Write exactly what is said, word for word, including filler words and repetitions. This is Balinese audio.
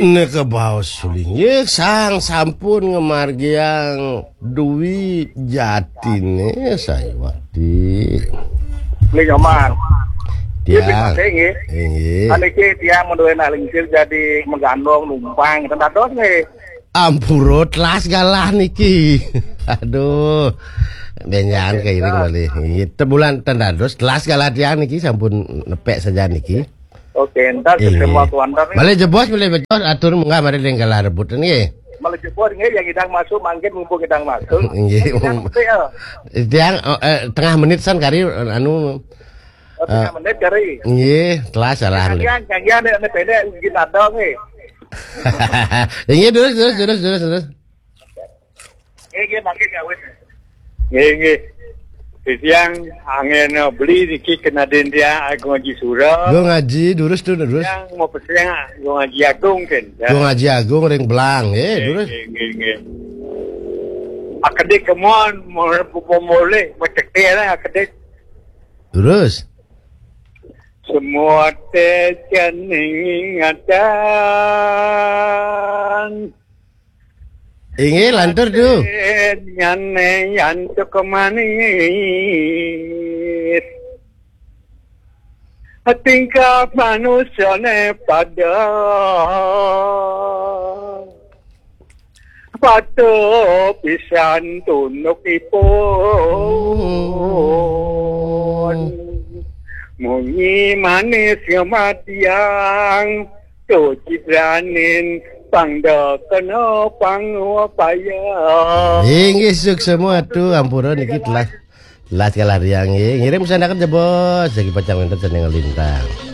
Neka baos sulinggih sang sampun ngamargiang Dwi Jatine Saiwati. Beli nyoman. Tiang. Nggih. Inggih. Niki tiang menduwe nak lingsir jadi menggandong numpang ten dados nggih. Ampura telas galah niki. Aduh. Benjangan kairing malih. Inggih, tebulan ten dados telas galah tiang niki sampun nepek saja niki. Oke, entar Inggih. Ketemu aku antar nih. Malih jebos malih bejos atur munggah mari ring galah rebut nggih. Malah jebos nggih yang idang masuk mangkin mumpung idang masuk. Inggih. Yang idang masuk ya. Tiang oh, eh, tengah menit san kari anu Oh, tengah menit kari. Nggih, telas salah. Yang yang yang ini pendek gini ada nggih. Inggih terus terus terus terus terus. Nggih nggih mangkin kawin. Nggih nggih. Tiang angin beli niki kena den tiang Agung Haji Sura. Gung Haji durus tu durus. Yang mau pesen Agung Haji Agung kan. Ya. Gung Haji Agung ring Belang, eh durus. Nggih nggih nggih. Akedik kemon mau mau boleh mau cekel lah akedik. Durus. Semua teh ingatan. Inggih lantur tu. Nyane yantuk manis. Tingkah manusiane pada patuh pisan tundukipun. Munyi manis ngematiang tu citranin pangda kena pangupaya. Inggih suksma tu ampura niki telas. Telas galah tiang nggih. Ngiring pesan akan jebos lagi pacang wonten seni ngelintang.